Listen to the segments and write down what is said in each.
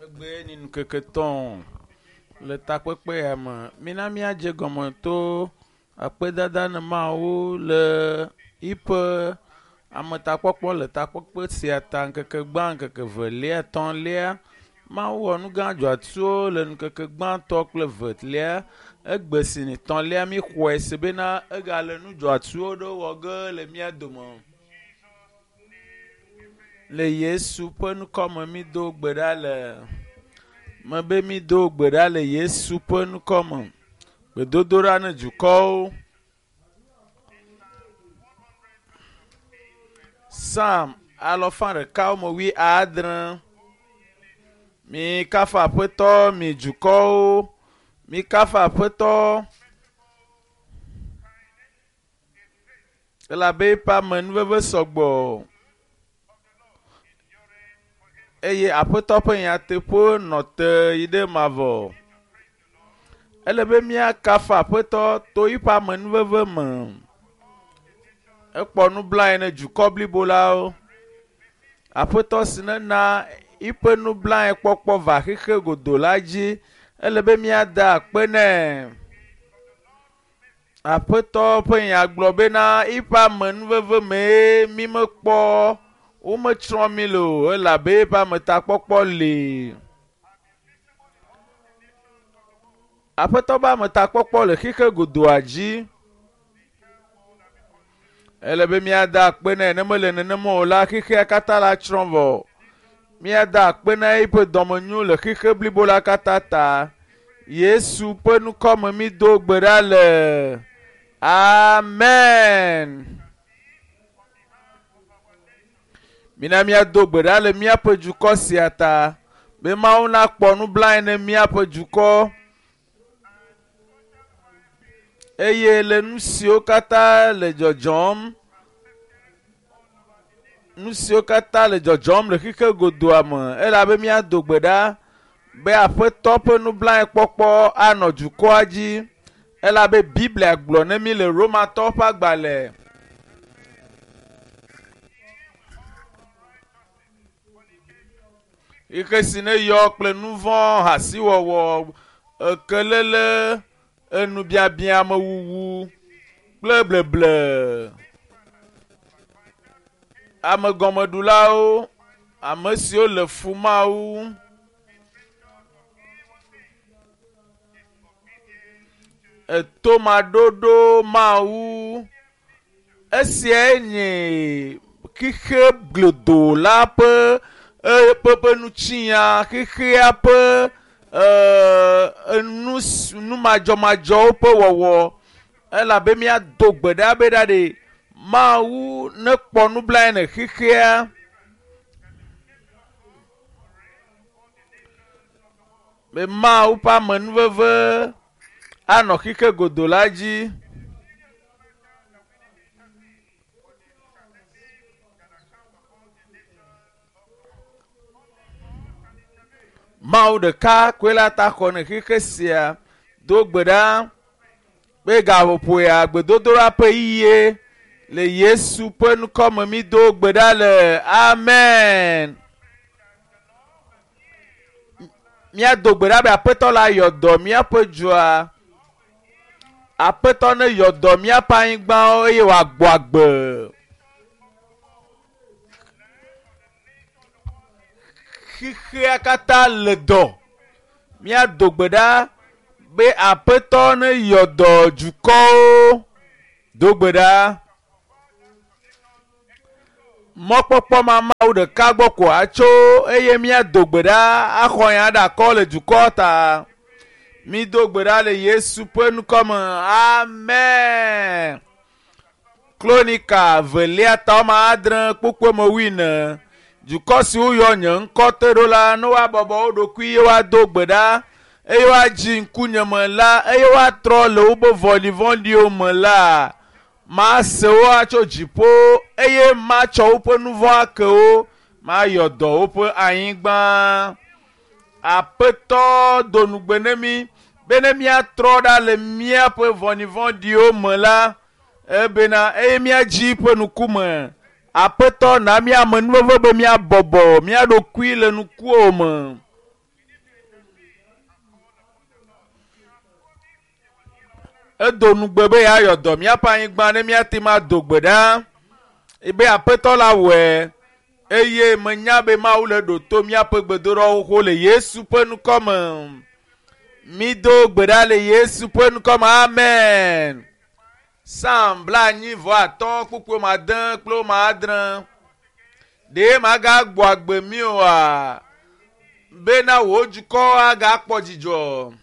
Egbe ni ŋkeke tɔ̃ le takpekpe ya me. Mina míadze gɔme to akpedada ne Mawu le yiƒe ametakpɔkpɔ le takpekpe sia ta ŋkeke gbã, ŋkeke velia, etɔ̃lia. Mawu wɔ nu gã dzɔatsuwo le ŋkeke gbãtɔ kple velia. Egbe si ni tɔ̃lia míxɔe se bena egale nu dzɔatsuwo ɖewo wɔ ge le mía dome. Le Yesu ƒe ŋkɔme mído gbe ɖa le mebe mído gbe ɖa le Yesu ƒe ŋkɔme. Gbedodoɖa ne dukɔwo. Psalm alɔfa ɖeka wɔme wui adre. Mi kafu Aƒetɔ mi dukɔwo. Mi kafu Aƒetɔ. Elabe eƒe amenuveve sɔgbɔ. Eye Aƒetɔ ƒe nyateƒe nɔ te yi ɖe mavɔ. Ele be míakafu Aƒetɔ to eƒe amenuveve me. Ekpɔ nublanui ne dukɔ blibo lawo. Aƒetɔ si nena eƒe nublanuikpɔkpɔ va xexe godo la dzi. Ele be míada akpe nɛ. Aƒetɔ ƒe nya gblɔ bena eƒe amenuveve mee mi mekpɔ wometsrɔ̃ mi le o elabe eƒe ametakpɔkpɔ li. Aƒetɔ ƒe ametakpɔkpɔ le xexe godoa dzi. Ele be míada akpe nɛ ne mele nenema o la xexea katã la tsrɔ̃ vɔ. Míada akpe na eƒe dɔmenyo le xexe blibo la katã ta. Yesu ƒe ŋkɔme mído gbe ɖa le. Amen. Mina míado gbe ɖa le míaƒe dukɔ sia ta be Mawu nakpɔ nublanui ne míaƒe dukɔ eye le nu siwo katã le dzɔdzɔm nu siwo katã le dzɔdzɔm le xexe godoa me elabe míado gbe ɖa be Aƒetɔ ƒe nublanuikpɔkpɔ anɔ dukɔa dzi elabe Biblia gblɔ ne mí le Romatɔwo ƒe agbalẽ xexe si ne yɔ kple nu vɔ̃, hasiwɔwɔ, ekelele, enubiabia amewuwu kple bleble. Amegɔmeɖulawo, ame siwo le fu Mawu. Etomaɖoɖo Mawu. Esiae nye xexe glodo la ƒe eƒe nutsinya, xexea ƒe enu numadzɔmadzɔwo ƒe wɔwɔ elabe míado gbe ɖa be ɖa ɖe Mawu nekpɔ nublanui ne xexea. Be Mawu ƒe amenuveve anɔ xexe godo la dzi. Mawu ɖeka koe la ta xɔ ne xexe sia. Do gbe ɖa be gaƒoƒo ya gbedodoɖa ƒe yiyie le Yesu ƒe ŋkɔme mído gbe ɖa le. Amen. Míado gbe ɖa be Aƒetɔ la yɔ dɔ míaƒe dzoa. Aƒetɔ ne yɔ dɔ míaƒe anyigbawo eye wòagbɔ agbe. Xexea katã le dɔ. Míado gbe ɖa be Aƒetɔ ne yɔ dɔ dukɔwo. Do gbe ɖa. Mɔkpɔkpɔ ma Mawu ɖeka gbɔ ko atso eye míado gbe ɖa axɔ nya ɖe akɔ le dukɔ ta. Mído gbe ɖa le Yesu ƒe ŋkɔme. Amen. Kronika velia ta wɔme adre kpukpui me wuiene. Dukɔ siwo yɔ nye ŋkɔ te ɖo la, ne woabɔbɔ wo ɖokui eye woado gbe ɖa eye woadzi ŋkunye me la eye woatrɔ le woƒe vɔ̃ɖivɔ̃ɖiwo me la, mase wo atso dziƒo eye matsɔ woƒe nu vɔ̃ ake wo, mayɔ dɔ woƒe anyigba. Aƒetɔ do nugbe ne mí be ne míatrɔ ɖa le míaƒe vɔ̃ɖivɔ̃ɖiwo me la, ebena eye míadzi ƒe ŋkume. Aƒetɔ na mía amenuveve be míabɔbɔ mía ɖokui le ŋkuwò me. Edo nugbe be yeayɔ dɔ míaƒe anyigba ne míate ŋu ado gbe ɖa be aƒetɔ la wɔe eye menya be Mawu le ɖo to míaƒe gbedoɖawo xoxo le Yesu ƒe ŋkɔ me. Mido gbe ɖa le Yesu ƒe ŋkɔ me. Amen. Psalm 95 kpukpui ma ade kple ma adre. Ɖe magagbɔ agbe mi oa? Bena wò dukɔ agakpɔ dzidzɔ.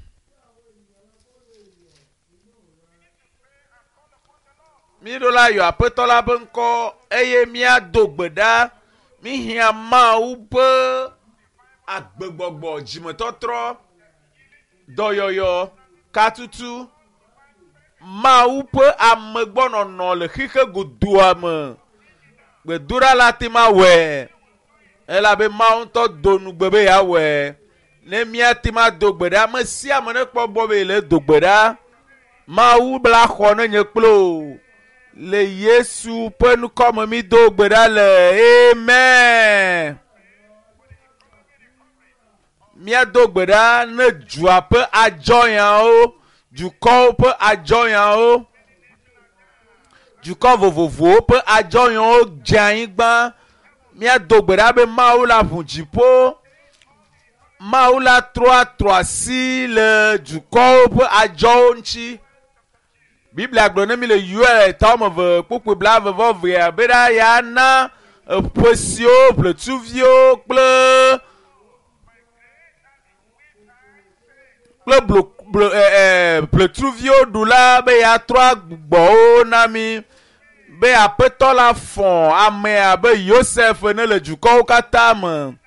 Míɖo la yɔ aƒetɔ la ƒe ŋkɔ eye míado gbe ɖa. Míhiã Mawu ƒe agbegbɔgbɔ, dzimetɔtrɔ, dɔyɔyɔ, katutu, Mawu ƒe amegbɔnɔnɔ le xixe godoa me. Gbedoɖa la te ma wɔe elabe Mawu ŋutɔ do nugbe be yeawɔe. Ne míate ma do gbe ɖa, ame sia ame nekpɔ gbɔ be yele do gbe ɖa. Mawu bla xɔ ne nye kple o. Le Yesu ƒe ŋkɔ me mi do gbe ɖa le. Amen. Míado gbe ɖa ne dua ƒe adzɔyawo, dukɔwo ƒe adzɔyawo, dukɔ vovovowo ƒe adzɔyawo dze anyigba. Míado gbe ɖa be Mawu la ʋu dziƒo. Mawu la trɔ atrɔ asi le dukɔwo ƒe adzɔwo ŋuti. Biblia gblɔ ne mi le Yoel ta wɔme eve kpukpui blaeve vɔ evea be ɖa ya na eƒe siwo ʋletuviwo kple kple blo blo ɛ ɛ ʋletsuviwo ɖu la be yeatrɔ agbugbɔwo na mi be aƒetɔ la fɔ ame abe Yosef ene le dukɔwo katã me.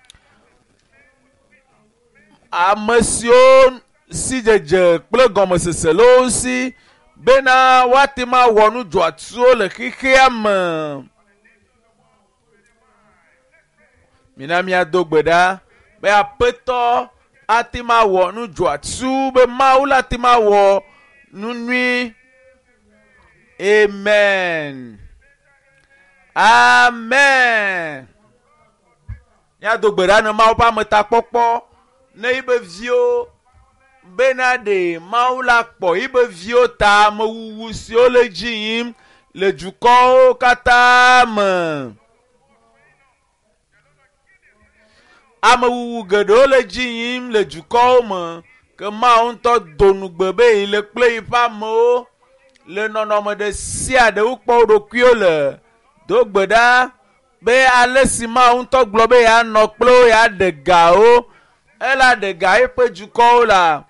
Ame siwo si dzedze kple gɔmesese le wo si bena woate ŋu awɔ nu dzɔatsuwo le xexea me. Mina míado gbe ɖa be aƒetɔ ate ŋu awɔ nu dzɔatsu be Mawu la ate ŋu awɔ nu nyui. Amen. Amen. Míado gbe ɖa ne Mawu ƒe ametakpɔkpɔ ne yibe viwo bena ɖe Mawu la kpɔ yibe viwo ta amewuwu siwo le dzi yim le dukɔwo katã me. Amewuwu geɖewo le dzi yim le dukɔwo me ke Mawu ŋutɔ do nugbe be yi le kple yiƒe amewo le nɔnɔme ɖe sia ɖe wokpɔ wo ɖokuiwo le. Do gbe ɖa be ale si Mawu ŋutɔ gblɔ be yeanɔ kple wo yeaɖe gawo, ela ɖe ga eƒe dukɔwo la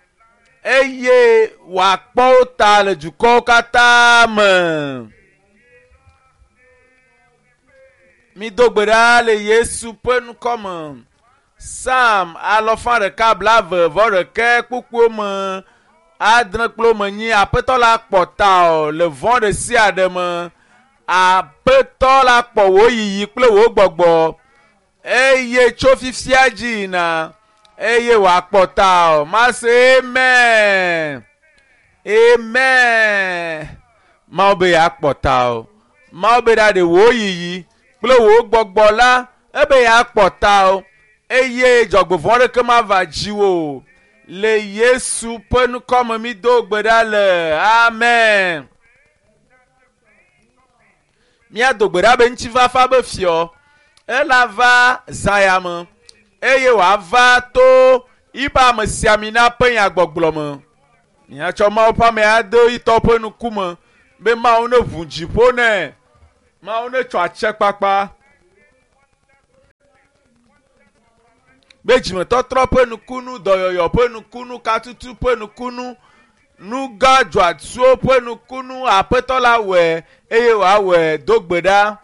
eye wòakpɔ wo ta le dukɔwo katã me. Mido gbe ɖa le Yesu ƒe ŋkɔ me. Psalm 121 kpukpuiwo me adre kple me nyi aƒetɔ la kpɔ ta o le vɔ̃ ɖe sia ɖe me. Aƒetɔ la kpɔ wò yiyi kple wò gbɔgbɔ eye tso fifia dzi yina eye wòakpɔ ta o. Mase amen. Amen. Mawu be yeakpɔ ta o. Mawu be ɖa ɖe wò yiyi kple wò gbɔgbɔ la ebe yeakpɔ ta o eye dzɔgbevɔ̃ ɖeke mava dziwò o. Le Yesu ƒe ŋkɔ me mi do gbe ɖa le. Amen. Míado gbe ɖa be ŋutifafa be fiɔ ela va zã me eye wòava to yiƒe amesiamina ƒe nyagbɔgblɔ me. Míatsɔ Mawu ƒe ame ade yitɔ ƒe ŋkume be Mawu ne ʋu dziƒo nɛ. Mawu ne tsɔ atsekpakpa be dzimetɔtrɔ ƒe nukunu, dɔyɔyɔ ƒe nukunu, katutu ƒe nukunu, nugã dzɔatsuwo ƒe nukunu, aƒetɔ la wɔe eye wòawɔe do gbe ɖa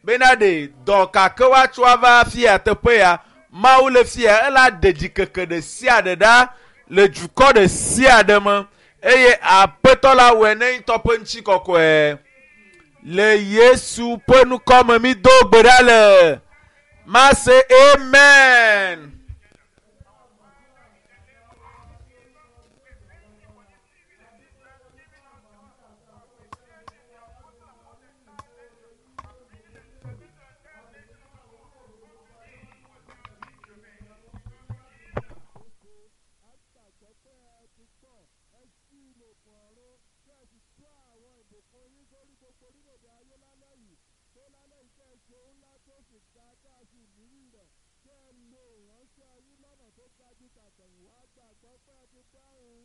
bena ɖe dɔ kake woatsɔ ava fia teƒe ya Mawu le fia ela ɖe dzikeke ɖe sia ɖe ɖa le dukɔ ɖe sia ɖe me eye aƒetɔ la wɔe ne ŋutɔ ƒe ŋutikɔkɔe. Le Yesu ƒe ŋkɔ me mi do gbe ɖa le. Mase amen. gbogbo orílẹ̀-èdè ayé lálẹ́ yìí tó lálẹ́ yìí kẹ́ ẹ ṣe ńlá tó sì ga tá a sì nírì rẹ̀ kẹ́ ẹ lo ìránṣẹ́ yín lọ́nà tó ga ju tàtẹ̀yìnwá. Gbàgbọ́ pé ẹ ti dáhùn.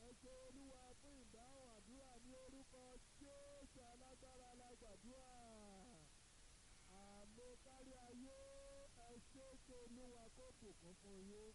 Ẹ ṣé Olúwa fún ìdáhùn àdúrà ní orúkọ Jésù alágbára la gbàdúrà. Àmín kárí ayé. Ẹ ṣé, kí Olúwa kó bùkún fún yín.